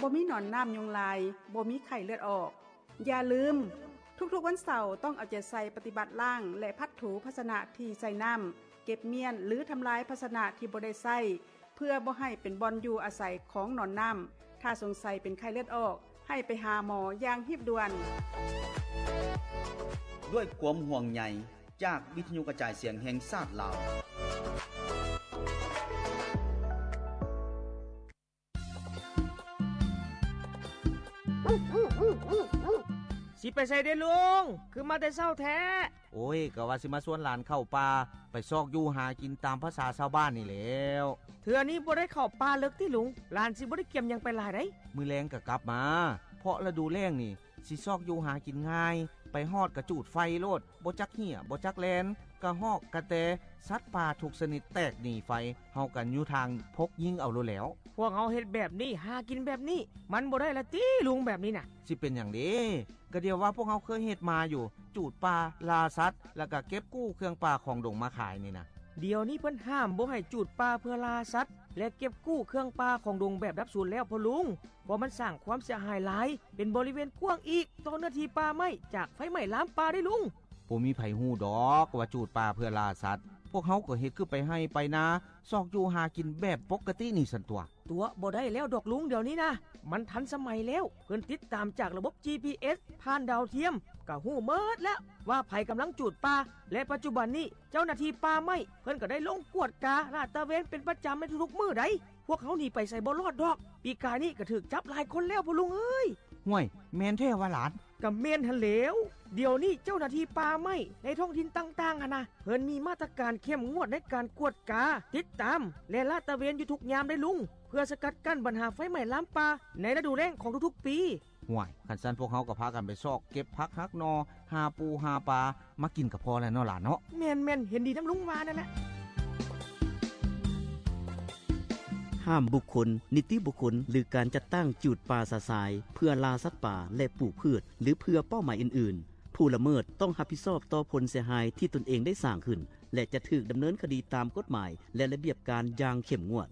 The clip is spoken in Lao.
ບໍ່ມີໜອນນ້ຳຍຸງລາຍ, ບໍ່ມີໄຂ້ເລືອດອອກ. ຢ່າລືມ, ທຸກໆວັນເສົາຕ້ອງເອົາໃຈໃສ່ປະຕິບັດລ້າງ ແລະ ພັດຖູພາຊະນະທີ່ໃສ່ນ້ຳ, ເກັບມ້ຽນ ຫຼື ທຳລາຍພາຊະນະທີ່ບໍ່ໄດ້ໃຊ້ ເພື່ອບໍ່ໃຫ້ເປັນບ່ອນຢູ່ອາໄສຂອງໜອນນ້ຳ. ຖ້າສົງໄສເປັນໄຂ້ເລືອດອອກ, ໃຫ້ໄປຫາໝໍຢ່າງຮີບດ່ວນ. ດ້ວຍຄວາມຫ່ວງໃຍຈາກວິທະຍຸກະຈາຍສຽງແຫ່ງຊາດລາວ. ຊິໄປໃສເດລຸງ? ຄືມາແຕ່ເຊົ້າແທ້? ໂອ້ຍ, ກະວ່າຊິມາຊວນຫຼານເຂົ້າປ່າ ໄປຊອກຢູ່ຫາກິນຕາມພາສາຊາວບ້ານນີ້ແຫຼ້ວ. ເທື່ອນີ້ບໍ່ໄດ້ເຂົ້າປ່າເລິກຕິລຸງ? ຫຼານຊິບໍ່ໄດ້ກຽມຫຍັງໄປຫຼາຍໃດ໋. ມື້ແລງກະກັບມາ, ເພາະລະດູແລ້ງນີ້ ຊິຊອກຢູ່ຫາກິນງ່າຍ, ໄປຮອດກະຈູດໄຟໂລດ, ບໍ່ຈັກເຫ້ຍ ບໍ່ຈັກແລ່ນ, ກະຮອກ ກະແຕ, ສັດປ່າທຸກຊະນິດແຕກໜີໄຟ, ເຮົາກະຢູ່ທາງພົກຍິງເອົາໂລດແຫຼ້ວ. ພວກເຮົາເຮັດແບບນີ້, ຫາກິນແບບນີ້, ມັນບໍ່ໄດ້ລະຕິລຸງແບບນີ້ນະ? ຊິເປັນຫຍັງເດ? ກະດຽວວ່າພວກເຮົາເຄີຍເຮັດມາຢູ່, ຈູດປ່າ, ລ່າສັດ, ລະກະເກັບກູ້ເຄື່ອງປ່າຂອງດົງມາຂາຍນີ້ນະ. ດຽວນີ້ເພິ່ນຫ້າມບໍ່ໃຫ້ຈູດປ່າເພື່ອລ່າສັດ ແລະ ເກັບກູ້ເຄື່ອງປ່າຂອງດົງແບບດັບສູນແລ້ວພໍ່ລຸງ, ເພາະມັນສ້າງຄວາມເສຍຫາຍຫຼາຍ, ເປັນບໍລິເວນກວ້າງອີກຕໍ່ເນື້ອທີ່ປ່າໄມ້ຈາກໄຟໄໝ້ລາມປ່າເດ້ລຸງ. ບໍ່ມີໃຜຮູ້ດອກວ່າຈູດປ່າເພື່ອລ່າສັດ, ພວກເຮົາກໍເຮັດຄືໄປໄຮ່ໄປນາ, ຊອກຢູ່ຫາກິນແບບປົກກະຕິນີ້ຊັ້ນຕົວະ. ຕົວະບໍ່ໄດ້ແລ້ວດອກລຸງ ດຽວນີ້ນະ, ມັນທັນສະໄໝແລ້ວ, ເພິ່ນຕິດຕາມຈາກລະບົບ ຈີພີເອສ ຜ່ານດາວທຽມ, ກະຮູ້ໝົດແລ້ວວ່າໃຜກຳລັງຈູດປ່າ, ແລະ ປັດຈຸບັນນີ້ ເຈົ້າໜ້າທີ່ປ່າໄມ້ເພິ່ນກໍໄດ້ລົງກວດກາລາດຕະເວນເປັນປະຈຳໃນທຸກໆມື້ໃດ໋. ພວກເຮົາໜີໄປໃສບໍ່ລອດດອກ. ປີກາຍນີ້ກໍຖືກຈັບຫຼາຍຄົນແລ້ວພໍ່ລຸງເອີຍ. ຫ້ວຍ, ແມ່ນແທ້ຫວາຫຼານ? ກໍແມ່ນຫັ້ນແຫຼ້ວ. ດຽວນີ້ເຈົ້າໜ້າທີ່ປ່າໄມ້ໃນທ້ອງຖິ່ນຕ່າງໆຫັ້ນນະ ເພິ່ນມີມາດຕະການເຂັ້ມງວດໃນການກວດກາ, ຕິດຕາມ ແລະ ລາດຕະເວນຢູ່ທຸກຍາມເດ້ລຸງ, ເພື່ອສະກັດກັ້ນບັນຫາໄຟໄໝ້ລາມປ່າໃນລະດູແລ້ງຂອງທຸກໆປີ. ຫ້ວຍ, ຄັນຊັ້ນພວກເຮົາກໍພາກັນໄປຊອກເກັບຜັກຫັກໜໍ່, ຫາປູຫາປາມາກິນກໍພໍແລ້ວເນາະຫຼານເນາະ. ແມ່ນໆ, ເຫັນດີນຳລຸງວ່ານັ້ນແຫຼະ. ຫ້າມບຸກຄົນ, ນິຕິບຸກຄົນ ຫຼື ການຈັດຕັ້ງຈູດປ່າສະສາຍເພື່ອລ່າສັດປ່າ ແລະ ປູກພືດ ຫຼື ເພື່ອເປົ້າໝາຍອື່ນໆ. ຜູ້ລະເມີດຕ້ອງຮັບຜິດຊອບຕໍ່ຜົນເສຍຫາຍທີ່ຕົນເອງໄດ້ສ້າງຂຶ້ນ ແລະ ຈະຖືກດຳເນີນຄະດີຕາມກົດໝາຍ ແລະ ລະບຽບການຢ່າງເຂັ້ມງວດ.